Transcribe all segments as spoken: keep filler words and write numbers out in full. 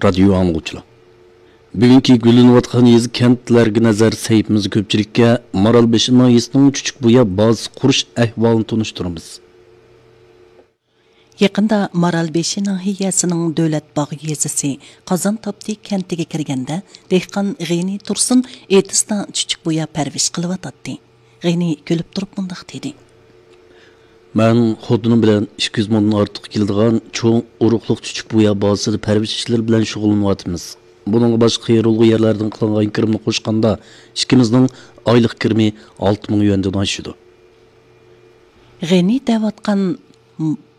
رادىيو ئاڭلىغۇچىلار، بۈگۈنكى گۈللىنىۋاتقان يېزا، كەنتلەرگە نەزەر سەھىپىمىزدە كۆپچىلىككە مارالبېشى ناھىيەسىنىڭ چۈچۈكبۇيا بازىسى قۇرۇش ئەھۋالىنى تونۇشتۇرىمىز. يېقىندا مارالبېشى ناھىيەسىنىڭ دۆلەت باغ يېزىسى قازان تاپتى كەنتىگە كىرگەندە، دېھقان غېنى تۇرسۇن ئېتىزدا چۈچۈكبۇيا پەرۋىش قىلىۋاتاتتى. غېنى كۈلۈپ تۇرۇپ مۇنداق دېدى. مەن خوتۇنۇم بىلەن ئىككى يۈز مودىن ئارتۇق كېلىدىغان چوڭ ئۇرۇقلۇق چۈچۈكبۇيا بازىسىدا پەرۋىش ئىشلىرى بىلەن شۇغۇللىنىۋاتىمىز. بۇنىڭغا باشقا قېرىلغۇ يەرلەردىن قىلىنغان كىرىمنى قوشقاندا، ئىككىمىزنىڭ ئايلىق كىرىمى ئالتە مىڭ يۈەندىن ئاشىدۇ. غېنى دەۋاتقان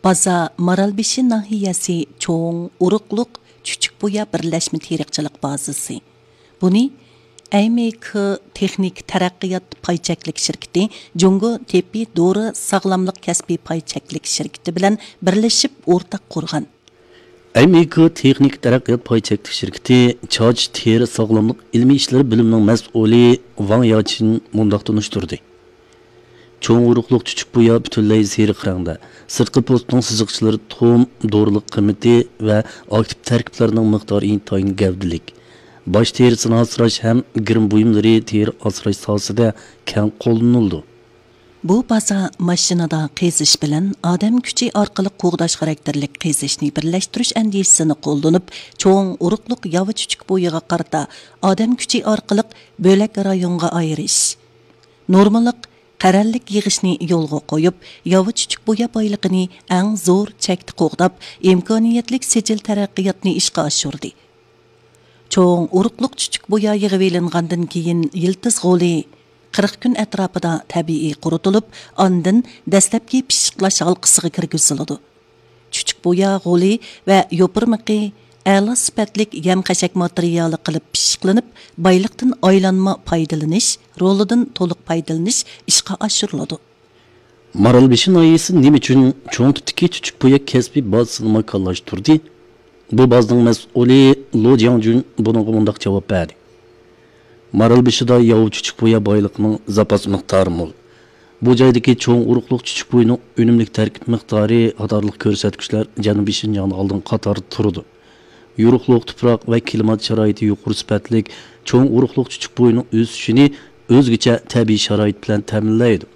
بازا مارالبېشى ناھىيەسى چوڭ ئۇرۇقلۇق چۈچۈكبۇيا بىرلەشمە تېرىقچىلىق بازىسى. بۇنى ئەيمېيكى تېخنىكا تەرەققىيات پاي چەكلىك شىركىتى، جۇڭگو تېببىي دورا ساغلاملىق كەسپىي پاي چەكلىك شىركىتى بىلەن بىرلىشىپ ئورتاق قۇرغان. ئەيمېيكى تېخنىكا تەرەققىيات پاي چەكلىك شىركىتى چاچ، تېرە ساغلاملىق ئىلمىي ئىشلىرى بۆلۈمىنىڭ مەسئۇلى ۋاڭ ياچىن مۇنداق تونۇشتۇردى. چوڭ ئۇرۇقلۇق چۈچۈكبۇيا پۈتۈنلەي سېرىق رەڭدە، سىرتقى پوستىنىڭ سىزىقچىلىرى تۇخۇم، دورىلىق قىممىتى ۋە ئاكتىپ تەركىبلەرنىڭ مىقدارى ئىنتايىن گەۋدىلىك. باش تېرىسىنى ئاسراش ھەم گىرىم بۇيۇملىرى تېرە ئاسراش ساھەسىدە كەڭ قوللىنىلىدۇ. بۇ بازا ماشىنىدا قېزىش بىلەن ئادەم كۈچى ئارقىلىق قوغداش خاراكتېرلىك قېزىشنى بىرلەشتۈرۈش ئەندىزىسىنى قوللىنىپ، چوڭ ئۇرۇقلۇق ياۋا چۈچۈكبۇيىغا قارىتا ئادەم كۈچى ئارقىلىق بۆلەك رايونغا ئايرىش، نورمىلىق قەرەللىك يىغىشنى يولغا قويۇپ، ياۋا چۈچۈكبۇيا بايلىقىنى ئەڭ زور چەكتە قوغداپ، ئىمكانىيەتلىك سىجىل تەرەققىياتنى ئىشقا ئاشۇردى. چوڭ ئۇرۇقلۇق چۈچۈكبۇيا يىغىۋېلىنغاندىن كېيىن، يىلتىز غولى قىرىق كۈن ئەتراپىدا تەبىئىي قۇرۇتۇلۇپ، ئاندىن دەسلەپكى پىششىقلاش ھالقىسىغا كىرگۈزۈلىدۇ. چۈچۈكبۇيا غولى ۋە يوپۇرمىقى ئەلا سۈپەتلىك يەم-خەشەك ماتېرىيالى قىلىپ پىششىقلىنىپ، بايلىقتىن ئايلانما پايدىلىنىش رولىدىن تولۇق پايدىلىنىش ئىشقا ئاشۇرۇلىدۇ. مارالبېشى ناھىيەسى نېمە ئۈچۈن چوڭ تىپتىكى چۈچۈكبۇيا كەسپىي بازىسىنى ماكانلاشتۇردى؟ بۇ بازىنىڭ مەسئۇلى لو جياڭجۈن بۇنىڭغا مۇنداق جاۋاب بەردى. مارالبېشىدا ياۋا چۈچۈكبۇيا بايلىقىنىڭ زاپاس مىقدارى مول. بۇ جايدىكى چوڭ ئۇرۇقلۇق چۈچۈكبۇيىنىڭ ئۈنۈملۈك تەركىب مىقدارى قاتارلىق كۆرسەتكۈچلەر جەنۇبىي شىنجاڭدا ئالدىنقى قاتاردا تۇرىدۇ. يورۇقلۇق، تۇپراق ۋە كىلىمات شارائىتى يۇقىرى سۈپەتلىك چوڭ ئۇرۇقلۇق چۈچۈكبۇيىنىڭ ئۆسۈشىنى ئۆزگىچە تەبىئىي شارائىت بىلەن تەمىنلەيدۇ.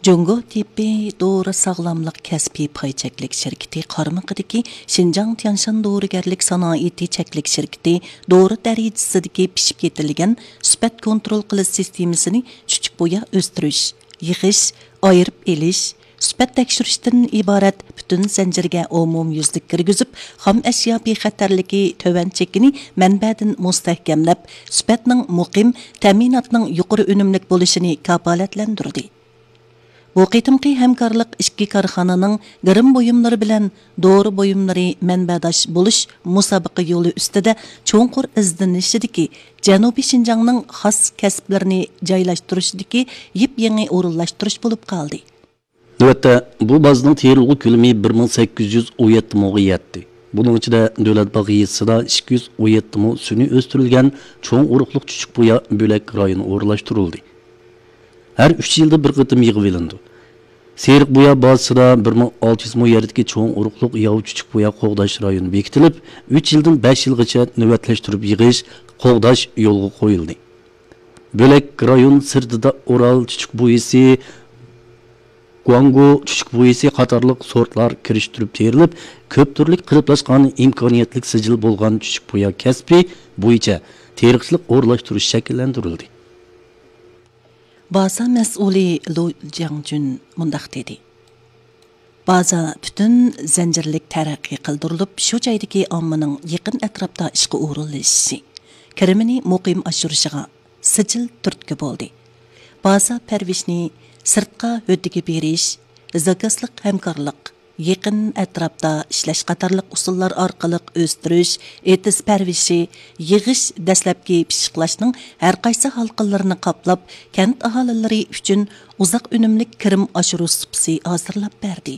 جۇڭگو تېببىي دورا ساغلاملىق كەسپىي پاي چەكلىك شىركىتى قارمىقىدىكى شىنجاڭ تيەنشان دورىگەرلىك سانائىتى چەكلىك شىركىتى دورا دەرىجىسىدىكى پىشىپ يېتىلگەن سۈپەت كونترول قىلىش سىستېمىسىنى چۈچۈكبۇيا ئۆستۈرۈش، يىغىش، ئايرىپ ئېلىش، سۈپەت تەكشۈرۈشتىن ئىبارەت پۈتۈن زەنجىرگە ئومۇميۈزلۈك كىرگۈزۈپ، خام ئەشيا بىخەتەرلىكى تۆۋەن چېكىنى مەنبەدىن مۇستەھكەملەپ، سۈپەتنىڭ مۇقىم، تەمىناتنىڭ يۇقىرى ئۈنۈملۈك بولۇشىنى كاپالەتلەندۈردى. بۇ قېتىمقى ھەمكارلىق ئىككى كارخانىنىڭ گىرىم بۇيۇملىرى بىلەن دورا بۇيۇملىرى مەنبەداش بولۇش مۇسابىقە يولى ئۈستىدە چوڭقۇر ئىزدىنىشىدىكى جەنۇبىي شىنجاڭنىڭ خاس كەسىپلىرىنى جايلاشتۇرۇشىدىكى يېپيېڭى ئورۇنلاشتۇرۇش بولۇپ قالدى. نۆۋەتتە، بۇ بازىنىڭ تېرىلغۇ كۆلىمى بىر مىڭ سەككىز يۈز ئون يەتتە موغا يەتتى. بۇنىڭ ئىچىدە دۆلەت باغ يېزىسىدا ئىككى يۈز ئون يەتتە مو سۈنئىي ئۆستۈرۈلگەن چوڭ ئۇرۇقلۇق چۈچۈك بۇيا بۆلەك رايونى ئورۇنلاشتۇرۇلدى. ھەر ئۈچ يىلدا بىر قېتىم يىغىۋېلىنىدۇ. سېرىق بۇيا بازىسىدا بىر مىڭ ئالتە يۈز مو يەردىكى چوڭ ئۇرۇقلۇق ياۋا چۈچۈك بۇيا قوغداش رايونى بېكىتىلىپ، ئۈچ يىلدىن بەش يىلغىچە نۆۋەتلەشتۈرۈپ يىغىش، قوغداش يولغا قويۇلدى. بۆلەك رايون سىرتىدا ئورال چۈچۈك بۇيىسى، گۇاڭگۇ چۈچۈك بۇيىسى قاتارلىق سورتلار كىرىشتۈرۈپ تېرىلىپ، كۆپ تۈرلۈك قېلىپلاشقان ئىمكانىيەتلىك سىجىل بولغان چۈچۈك بۇيا كەسپى بويىچە تېرىقچىلىق ئورۇنلاشتۇرۇش شەكىللەندۈرۈلدى. بازا مەسئۇلى لۇ جياڭجۈن مۇنداق دېدى: بازا پۈتۈن زەنجىرلىك تەرەققىي قىلدۇرۇلۇپ، شۇ جايدىكى ئاممىنىڭ يېقىن ئەتراپتا ئىشقا ئورۇنلىشىشى، كىرىمىنى مۇقىم ئاشۇرۇشىغا سىجىل تۈرتكە بولدى. بازا پەرۋىشنى سىرتقا ھۆددىگە بېرىش، زاكازلىق ھەمكارلىق، يېقىن ئەتراپتا ئىشلەش قاتارلىق ئۇسۇللار ئارقىلىق ئۆستۈرۈش، ئېتىز پەرۋىشى، يىغىش، دەسلەپكى پىششىقلاشنىڭ ھەرقايسى ھالقىلىرىنى قاپلاپ، كەنت ئاھالىلىرى ئۈچۈن ئۇزاق ئۈنۈملۈك كىرىم ئاشۇرۇش سۇپىسى ھازىرلاپ بەردى.